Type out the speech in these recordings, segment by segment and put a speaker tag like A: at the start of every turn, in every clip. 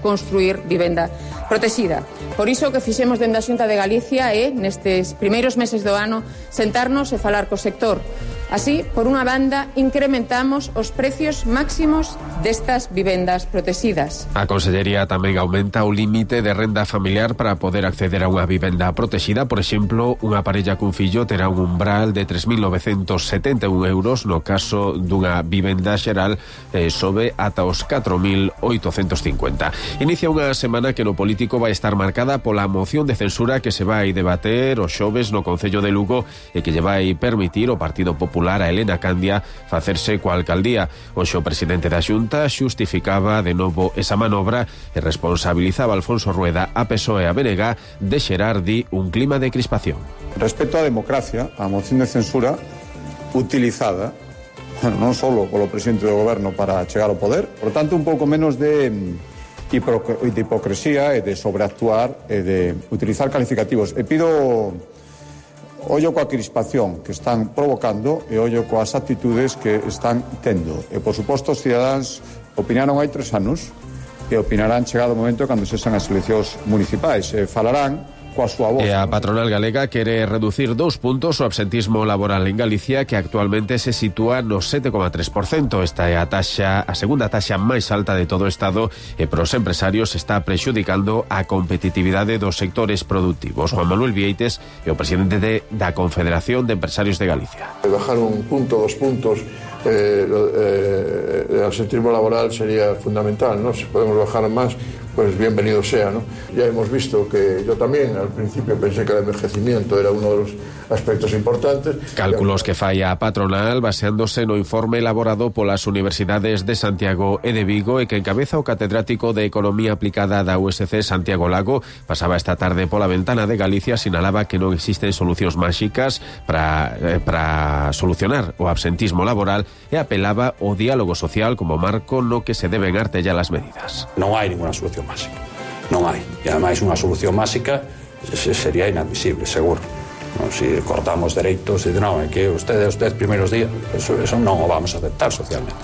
A: construir vivenda protexida. Por iso que fixemos dende a Xunta de Galicia é, nestes primeiros meses do ano, sentarnos e falar co sector. Así, por unha banda, incrementamos os precios máximos destas vivendas protegidas.
B: A Consellería tamén aumenta o límite de renda familiar para poder acceder a unha vivenda protegida. Por exemplo, unha parella cun fillo terá un umbral de 3.971 euros. No caso dunha vivenda xeral, sobe ata os 4.850. Inicia unha semana que no político vai estar marcada pola moción de censura que se vai debater o xoves no Concello de Lugo e que lle vai permitir o Partido Popular a Elena Candia facerse coa alcaldía. Hoxe o presidente da Xunta xustificaba de novo esa manobra e responsabilizaba a Alfonso Rueda, a PSOE e a BNG de xerar, di, un clima de crispación.
C: Respecto á democracia, a moción de censura utilizada non só polo presidente do goberno para chegar ao poder, por tanto un pouco menos de hipocresía e de sobreactuar e de utilizar calificativos. E pido ollo coa crispación que están provocando e ollo coas actitudes que están tendo. E, por suposto, os cidadáns opinaron hai 3 anos e opinarán chegado o momento cando sexan as eleccións municipais. E falarán coa súa voz.
B: E a patronal galega quere reducir 2 puntos o absentismo laboral en Galicia, que actualmente se sitúa no 7,3%. Esta é a segunda taxa máis alta de todo o Estado e para os empresarios está prexudicando a competitividade dos sectores productivos. Juan Manuel Vieites é o presidente da Confederación de Empresarios de Galicia.
D: Bajar un punto, 2 puntos el absentismo laboral sería fundamental, ¿no? Si podemos bajar más, pues bienvenido sea, ¿no? Ya hemos visto que yo también al principio pensé que el envejecimiento era uno de los aspectos importantes.
B: Cálculos que fai a patronal baseándose no informe elaborado polas universidades de Santiago e de Vigo e que encabeza o catedrático de Economía Aplicada da USC, Santiago Lago. Pasaba esta tarde pola ventana de Galicia, sinalaba que non existen solucións máxicas para solucionar o absentismo laboral e apelaba ao diálogo social como marco no que se deben artellar as medidas.
E: Non hai ninguna solución máxica, non hai. E ademais unha solución máxica sería inadmisible, seguro. No, si cortamos dereitos e non, é que usted primeiros días, eso non o vamos a aceptar socialmente.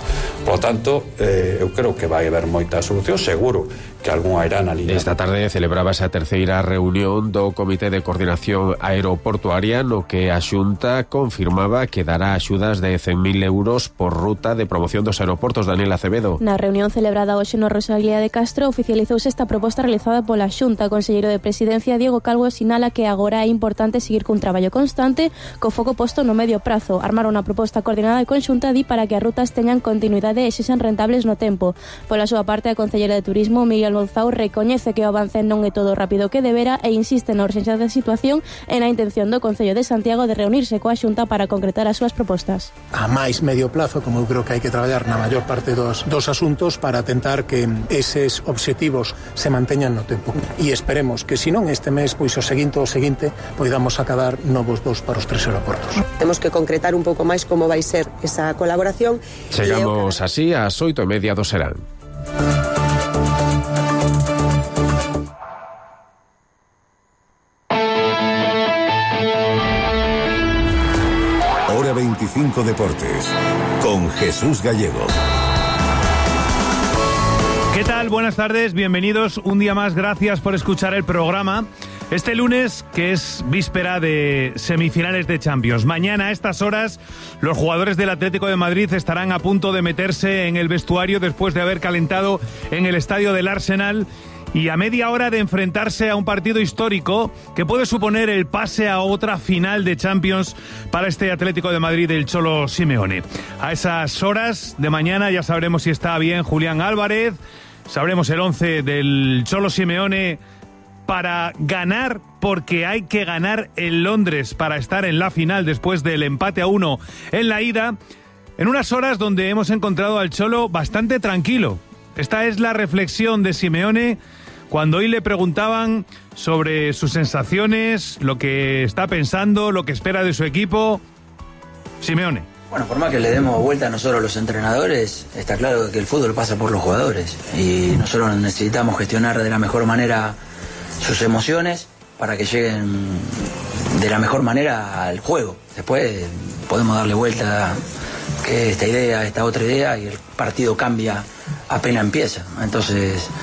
E: Por lo tanto, eu creo que vai haber moita solución, seguro que algunha irá na liña.
B: Esta tarde celebrábase a terceira reunión do Comité de Coordinación Aeroportuaria, no que a Xunta confirmaba que dará axudas de 100.000 euros por ruta de promoción dos aeroportos. Daniel Acevedo.
F: Na reunión celebrada hoxe no Rosalía de Castro oficializouse esta proposta realizada pola Xunta. O conselleiro de Presidencia, Diego Calvo, sinala que agora é importante seguir cun traballo constante co foco posto no medio prazo. Armar unha proposta coordinada e conxunta para que as rutas teñan continuidade e sexan rentables no tempo. Pola súa parte, a concelleira de Turismo, Miguel Louzao, recoñece que o avance non é todo rápido que debera e insiste na urxencia da situación e na intención do Concello de Santiago de reunirse coa Xunta para concretar as súas propostas.
G: A máis medio plazo, como eu creo que hai que traballar na maior parte dos asuntos para tentar que eses obxectivos se manteñan no tempo. E esperemos que, se non este mes, pois o seguinte poidamos acabar novos voos para os 3 aeroportos.
H: Temos que concretar un pouco máis como vai ser esa colaboración.
B: Chegamos así ás 8:30 do serán.
I: Hora 25 Deportes, con Jesús Gallego.
J: ¿Qué tal? Buenas tardes, bienvenidos un día más, gracias por escuchar el programa. Este lunes, que es víspera de semifinales de Champions. Mañana a estas horas, los jugadores del Atlético de Madrid estarán a punto de meterse en el vestuario después de haber calentado en el estadio del Arsenal y a media hora de enfrentarse a un partido histórico que puede suponer el pase a otra final de Champions para este Atlético de Madrid del Cholo Simeone. A esas horas de mañana ya sabremos si está bien Julián Álvarez, sabremos el 11 del Cholo Simeone para ganar, porque hay que ganar en Londres para estar en la final después del empate a 1 en la ida, en unas horas donde hemos encontrado al Cholo bastante tranquilo. Esta es la reflexión de Simeone cuando hoy le preguntaban sobre sus sensaciones, lo que está pensando, lo que espera de su equipo. Simeone.
K: Bueno, por más que le demos vuelta a nosotros los entrenadores, está claro que el fútbol pasa por los jugadores y nosotros necesitamos gestionar de la mejor manera sus emociones para que lleguen de la mejor manera al juego. Después podemos darle vuelta que esta idea, esta otra idea, y el partido cambia apenas empieza. Entonces